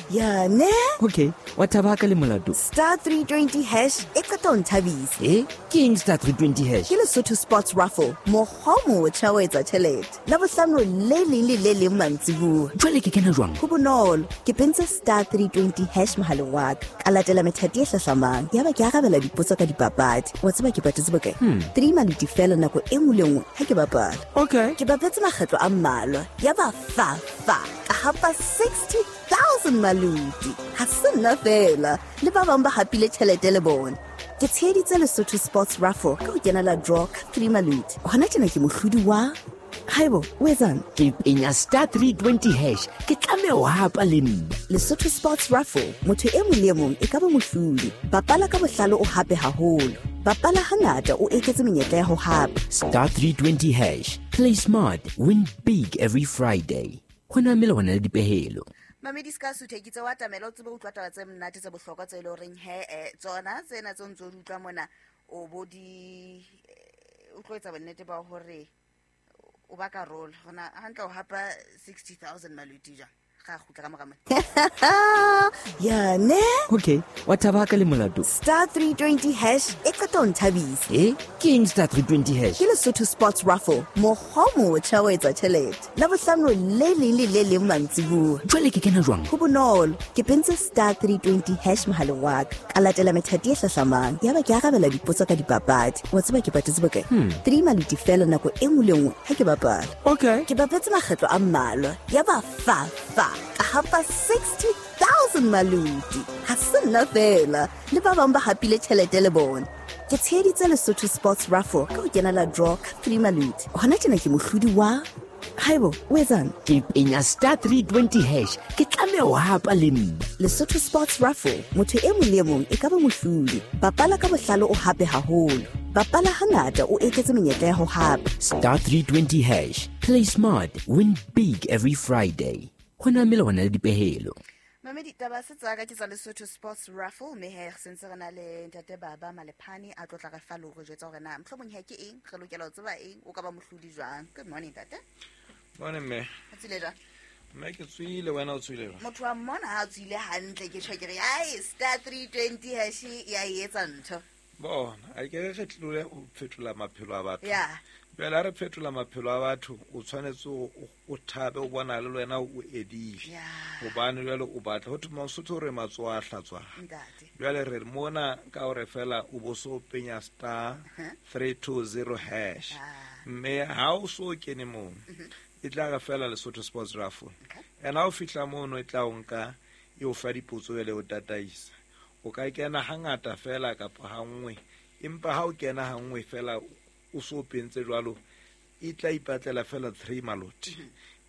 Ya ne? Okay, wa thaba ka le molato. Star 320 hash e qeta ho nthabisa. E ke eng star 320 hash? Ke Lesotho Sports Raffle, mokgwa o motjha wa etsa tjhelete. Labohlano le leng le le leng mantsibuya. Jwale ke kena jwang? Ho bonolo, ke pentse star 320 hash mohaleng wa ka. Ka latela methati e hlahlamang. Yaba ke arabela dipotso ka dipapadi. Wa tseba ke patetse bokae? 3 maluti fela nako e nngwe le nngwe ha ke bapala. Okay. Ke bapetse makgetlo a mmalwa. Yaba fa fa ka hapa 60,000 maluti. Ha se nna fela, le ba bang ba hapile tjhelete le bona. Ke tsheheditse Lesotho Sports Raffle ka ho kenela draw ka 3 maluti. Hona tjena ke mohlodi wa Haibo, o etsang? Ke penya star 320 hash, ke tlameha ho hapa le nna. Lesotho Sports Raffle, motho e mong le e mong e ka ba mohlodi. Bapala ka bohlale o hape haholo. Bapala hangata o eketse menyetla ya ho hapa. Star 320 hash, play smart, win big every Friday. Ho na melawana le dipehelo. Mamedi se ka suthe ke tse wa tamela o tsebe utlwa taba tse monate tse bohlokwa tse e le horeng he tsona tsena tse o ntse o di utlwa mona o bo di o tlo etsa bonnete ba hore o ba karolo gona hantle o hapa 60,000 maluti jang ga gutla ka mora mona. Ya ne? Okay, wa thaba ka le molato. Star 320 hash e qeta ho nthabisa. E ke eng star 320 hash? Ke Lesotho Sports Raffle, mokgwa o motjha wa etsa tjhelete. Labohlano le leng le le leng mantsibuya. Jwale ke kena jwang? Ho bonolo, ke pentse star 320 hash mohaleng wa ka. Ka latela methati e hlahlamang. Yaba ke arabela dipotso ka dipapadi. Wa tseba ke patetse bokae? 3 maluti fela nako e nngwe le nngwe ha ke bapala. Okay. Ke bapetse makgetlo a mmalwa. Yaba fa fa ka hapa 60,000 maluti. Ha se nna fela, le ba bang ba hapile tjhelete le bona. Ke tsheheditse Lesotho Sports Raffle ka ho kenela draw ka 3 maluti. Hona tjena ke mohlodi wa Haibo, o etsang? Ke penya star 320 hash, ke tlameha ho hapa le nna. Lesotho Sports Raffle, motho e mong le e mong e ka ba mohlodi. Bapala ka bohlale o hape haholo. Bapala hangata o eketse menyetla ya ho hapa. Star 320 hash, play smart, win big every Friday. Ho na melawana le dipehelo. Mamedi taba se tsaka ke tsa Lesotho Sports Raffle, mme he re sentse re na le ntate Baba Malephane a tlotla re fa le hore jwetsa hore na mohlomong he ke eng re lokela ho tseba eng o ka ba mohlodi jwang. Good morning ntate. Morning mme. O tswile jwang? Mme ke tswile, wena o tswile jwang? Motho wa mmona ha a tswile hantle ke tjho ke re ai star 320 hash ya e etsa ntho. Bona, a ke re tlole o fetola maphelo a batho. Yeah. Jwale ha re fetola maphelo a batho, o tshwanetse o thabe o bona le wena o edile. Yeah. Hobane jwale o batla ho thwe Mosotho re matsoho a hlatswang. Ntate. Jwale re mona ka hore fela o bo so penya star 320 hash. Mme ha o so kene moo, e tla re fela Lesotho Sports Raffle. Okay. And ha o fihla mono e tla o nka e o fa dipotso jwale o tataisa. O ka kena hangata fela kapa ha nngwe, empa ha o kena ha nngwe fela o so pentse jwalo, e tla ipatlela fela 3 maloti.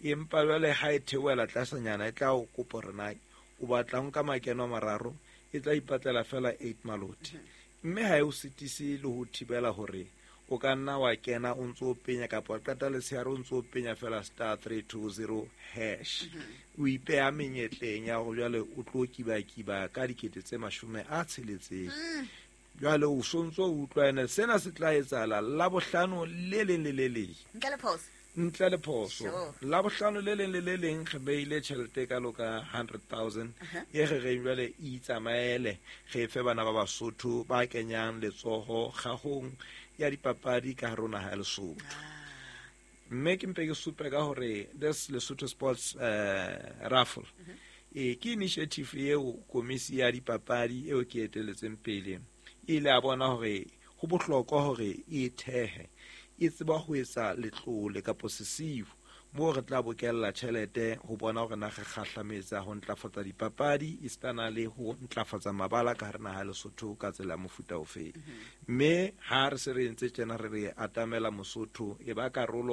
Empa jwale ha e theohela tlasanyana e tla o kopa hore na o batla ho nka makeno a mararo, e tla ipatlela fela 8 maloti. Mme ha e o sitise le ho thibela hore o ka nna wa kena o ntso o penya kapa wa qeta letshehare o ntso o penya fela star 320 hash. O ipeha menyetleng ya hore jwale o tlo kibakiba ka dikete tse 60. Jwale o sontso o utlwa ene sena se tla etsahala Labohlano le leng le le leng. Ntle le phoso. Ntle le phoso. Sure. Labohlano le leng le le leng re beile tjhelete e kalo ka 100,000 e re reng jwale e itsamaele re fe bana ba Basotho ba kenyang letsoho kgahong ya dipapadi ka hare ho naha ya Lesotho. Mme ke mpe ke supe ka hore this Lesotho Sports Raffle ke initiative eo komisi ya dipapadi eo ke eteletseng pele e ile ya bona hore ho bohlokwa hore e thehe e tseba ho etsa letlole kapo sesiu moo re tla bokella tjhelete ho bona hore na re kgahlametsa ho ntlafatsa dipapadi esitana le ho ntlafatsa mabala ka hare naha ya Lesotho ka tsela ya mofuta ofe. Mme ha re se re entse tjena re re atamela Mosotho e ba karolo